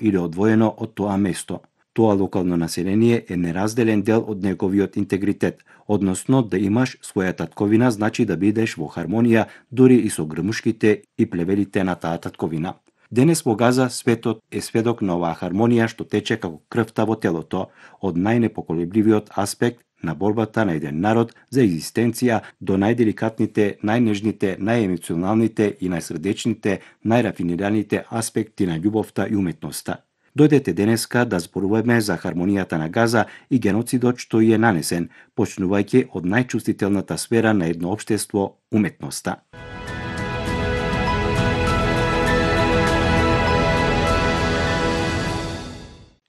или одвоено од тоа место. Тоа локално население е неразделен дел од неговиот интегритет, односно да имаш своја татковина значи да бидеш во хармонија дури и со грмушките и плевелите на таа татковина. Денес во Газа светот е сведок на оваа хармонија што тече како крвта во телото, од најнепоколебливиот аспект на борбата на еден народ за екзистенција до најделикатните, најнежните, најемоционалните и најсрдечните, најрафинираните аспекти на љубовта и уметноста. Дојдете денеска да зборуваме за хармонијата на Газа и геноцидот што ја е нанесен, почнувајќи од најчувствителната сфера на едно општество – уметноста.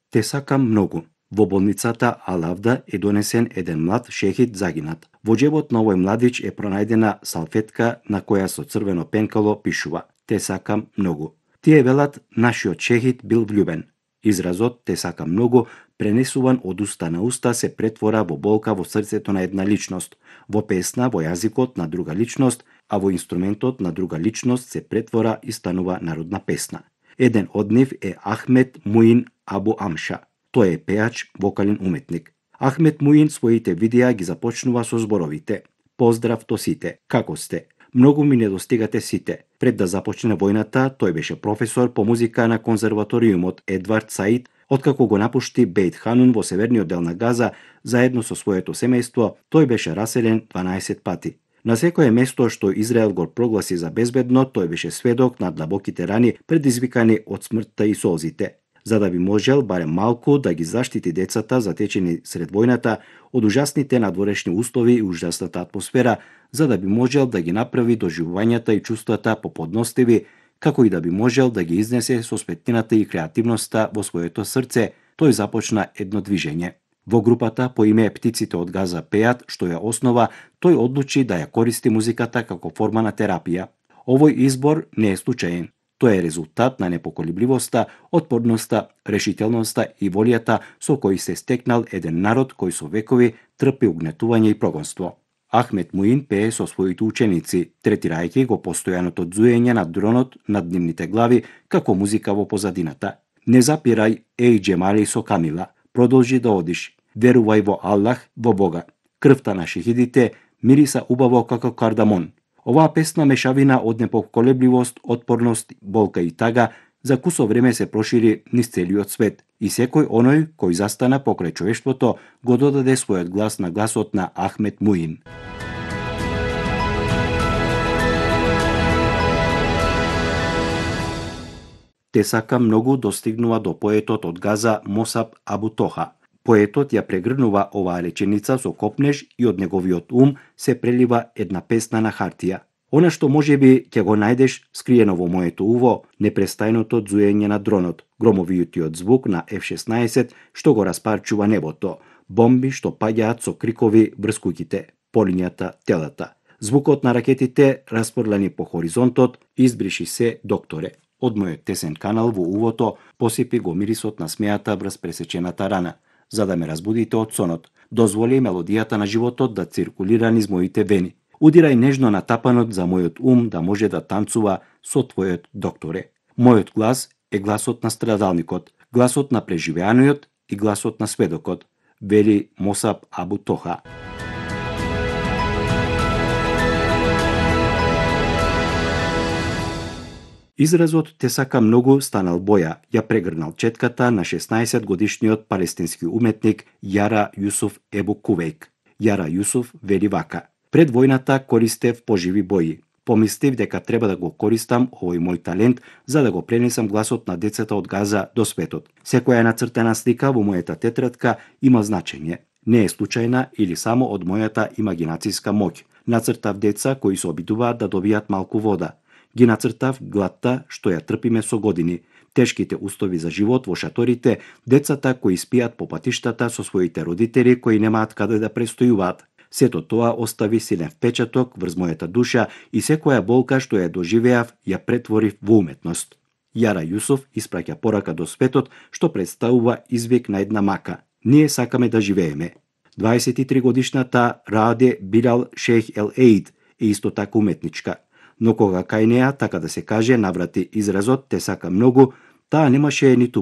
Те сакам многу. Во болницата Ал-Авда е донесен еден млад шехид загинат. Во џебот на овој младич е пронајдена салфетка на која со црвено пенкало пишува "Те сакам многу". Тие велат нашиот шехид бил влюбен. Изразот "Те сакам многу" пренесуван од уста на уста се претвора во болка во срцето на една личност, во песна во јазикот на друга личност, а во инструментот на друга личност се претвора и станува народна песна. Еден од нив е Ахмед Муин Абу Амша. Тој е пеач, вокален уметник. Ахмед Муин своите видеа ги започнува со зборовите: "Поздрав до сите, како сте? Многу ми недостигате сите." Пред да започне војната, тој беше професор по музика на конзерваториумот Едвард Саид, откако го напушти Бейт Ханун во северниот дел на Газа, заедно со своето семејство, тој беше раселен 12 пати. На секое место што Израел го прогласи за безбедно, тој беше сведок на длабоките рани предизвикани од смртта и солзите. За да би можел барем малку да ги заштити децата затечени сред војната од ужасните надворешни услови и ужасната атмосфера, за да би можел да ги направи доживувањата и чувствата поподностиви, како и да би можел да ги изнесе со светлината и креативноста во своето срце, тој започна едно движење. Во групата по име Птиците од Газа пеат, што ја основа, тој одлучи да ја користи музиката како форма на терапија. Овој избор не е случаен. Тоа е резултат на непоколебливоста, отпорноста, решителноста и волјата со кој се стекнал еден народ кој со векови трпи угнетување и прогонство. Ахмед Муин пее со своите ученици, третирајќи го постојаното ѕуење на дронот над нивните глави како музика во позадината. Не запирај, еј Џемали со Камила, продолжи да одиш, верувај во Аллах, во Бога. Крвта на шехидите мириса убаво како кардамон. Оваа песна мешавина од непоколебливост, отпорност, болка и тага за кусо време се прошири низ целиот свет и секој оној кој застана покрај човештвото го додаде својот глас на гласот на Ахмед Муин. Те сакам многу достигнува до поетот од Газа Мосаб Абу Тоха. Поетот ја прегрнува оваа реченица со копнеж и од неговиот ум се прелива една песна на хартија. Она што можеби ќе го најдеш скриено во моето уво, непрестајното ѕуење на дронот, громовиотиот звук на F-16 што го распарчува небото, бомби што паѓаат со крикови врз куќите, полињата, телата. Звукот на ракетите распорлани по хоризонтот, избриши се, докторе. Од мојот тесен канал во увото посипи го мирисот на смејата врз пресечената рана. За да ме разбудите од сонот, дозволи мелодијата на животот да циркулира низ моите вени. Удирај нежно на тапанот за мојот ум да може да танцува со твојот докторе. Мојот глас е гласот на страдалникот, гласот на преживеаниот и гласот на сведокот, вели Мосаб Абу Тоха. Изразот "Те сака многу" станал боја, ја прегрнал четката на 16-годишниот палестински уметник Јара Јусуф Ебу Кувејк. Јара Јусуф вели вака: "Пред војната користев поживи бои. Помислив дека треба да го користам овој мој талент за да го пренесам гласот на децата од Газа до светот. Секоја нацртана слика во мојата тетрадка има значење. Не е случајна или само од мојата имагинацијска моќ. Нацртав деца кои се обидуваат да добијат малку вода. Ги нацртав гладта што ја трпиме со години, тешките услови за живот во шаторите, децата кои спијат по патиштата со своите родители кои немаат каде да престојуваат. Сето тоа остави силен впечаток врз мојата душа и секоја болка што ја доживеав ја претворив во уметност." Јара Јусуф испраќа порака до светот што представува извик на една мака. Ние сакаме да живееме. 23 годишната Раде Билал Шејх Ел Еид е исто така уметничка. Но кога кај неа, така да се каже, наврати изразот "Те сака многу", таа немаше ниту